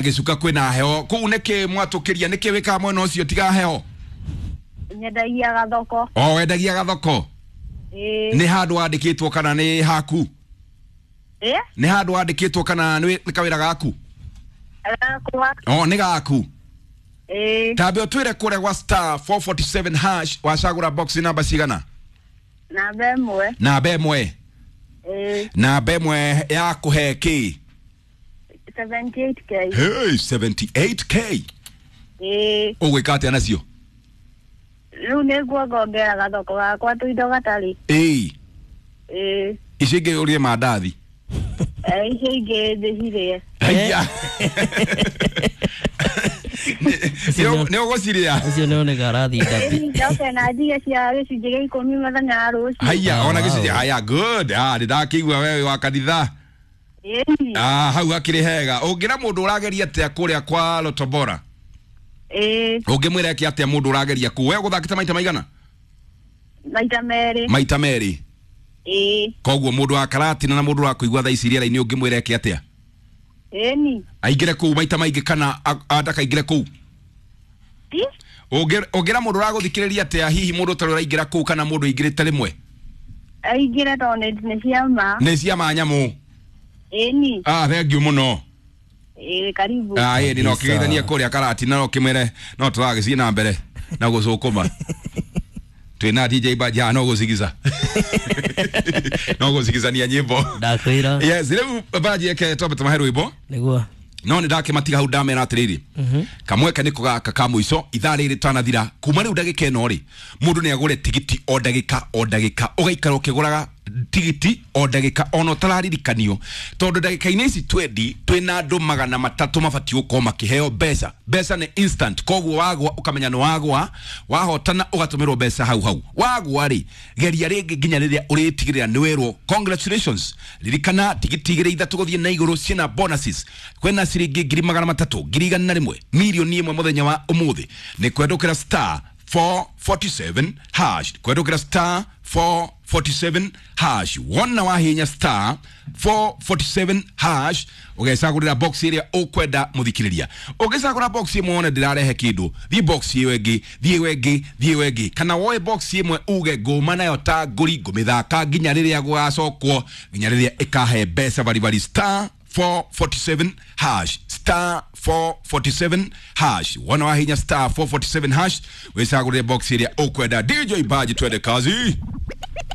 Gĩcuka kwĩna heho kũu nĩkĩ mwatũkĩria nĩkĩ wĩkaga mwena ũcio tiga heho? Nyendagia gathoko. O wendagia gathoko? Ĩĩ. Nĩ handũ wandĩkĩtwo kana nĩ haku? Ĩĩ. Nĩ handũ wandĩkĩtwo kana nĩ kawĩra gaku? Gakwa. O nĩ gaku? Ĩĩ. Tambe ũtwĩre kũrĩa gwa star 447 hash wacagũra box namba cigana? Namba 1. Namba 1. Ĩĩ. Namba 1 ya kũhe kĩ? 78K. Hey, 78K. Ĩĩ. Ũgwĩka atĩa nacio? Rĩu nĩnguongongerera gathoko gakwa tũindo gatarĩ. Ĩĩ. Ĩĩ. Icio ingĩ ũrĩe mandathi. Icio ingĩ ndĩcirĩe. Haiya. Nĩ ũgũcirĩa? Ũcio nĩ oneka arathiĩ ndabi. Njoke na njige cia gĩcunjĩ gĩa 10 mũthenya wa rũciũ. Haiya, ona gĩcunjĩ. Wow. Haya, good. Ah, nĩ ndakĩigua wewe wa kanitha. Ĩĩ. Ah, hau hakĩrĩ hega. Ũngĩra mũndũ ũrageria atĩa kũrĩa kwa Lotobora? Ĩĩ. Ũngĩmwĩra eke atĩa mũndũ ũrageria kũu? We ũgũthakĩte maita maigana? Maita 2. Maita 2. Ĩĩ. Koguo mũndũ wa Karatina na mũndũ ũrakũigua thaa ici rĩera-inĩ ũngĩmwĩra eke atĩa? Ĩni. Aingĩre kũu maita maingĩ kana ndakaingĩre kũu? Ti? Ũngĩra mũndũ ũragũthikĩrĩria atĩa hihi mũndũ ũtarĩ ũraingĩra kũu kana mũndũ aingĩrĩte rĩmwe? Aingĩre tondũ nĩ cia ma. Nĩ cia ma nyamũ. Ĩni. Ah, thank you mũno. Ĩĩ, karibu. Ah, ĩni no Kabisa. kĩgeithanie kũrĩa Karatina no kĩmwĩre no tũragĩthiĩ na mbere na gũcũkũma. Twĩna DJ Baja no gũcigica. No gũcigicania nyĩmbo. Ndakwĩra. Yes, rĩu Baji eke twambe tũmahe rwĩmbo. Nĩguo. No nĩ ndakĩmatiga hau ndamera atĩrĩrĩ. Kamweke nĩko gaka ka mũico ithaa rĩrĩ tanathira kuma rĩu ndagĩka ĩno rĩ mũndũ nĩ agũre tigiti o ndagĩka o ndagĩka ũgaikara ũkĩgũraga tigiti o ndagĩka ona ũtararirikanio tondũ ndagĩka-inĩ ici twendi twĩna andũ 300 mabatiĩ gũkorwo makĩheo mbeca. Mbeca nĩ instant, koguo wagwa ũkamenya nĩ wagwa, wahotana ũgatũmĩrwo mbeca hau hau. Wagwa rĩ geria rĩngĩ nginya rĩrĩa ũrĩtigĩrĩra nĩ werwo congratulations. Ririkana tigiti 2 3 gũthiĩ na igũrũ ciĩna bonuses, kwĩna ciringi 300,000, 101,000, 1,000,000 mũthenya wa ũmũthĩ. Nĩ kwendũkĩra star 447 hash, kwendũkĩra star 447 hash. Wona wahinya star 447 hash ũgecagũrĩra box ĩrĩa ũkwenda mũthikĩrĩria. Ũngĩcagũra box ĩmwe wone ndĩrarehe kĩndũ, thiĩ box ĩyo ĩngĩ, thiĩ ĩyo ĩngĩ, thiĩ ĩyo ĩngĩ, kana woe box ĩmwe uge ngũma nayo ta ngũri ngũmĩthaka nginya rĩrĩa gũgacokwo, nginya rĩrĩa ĩkahe mbeca baribari. Star 447 hash, star 447 hash. Wona wahinya star 447 hash wĩcagũrĩre box ĩrĩa ũkwenda. DJ Baji, twende kazi.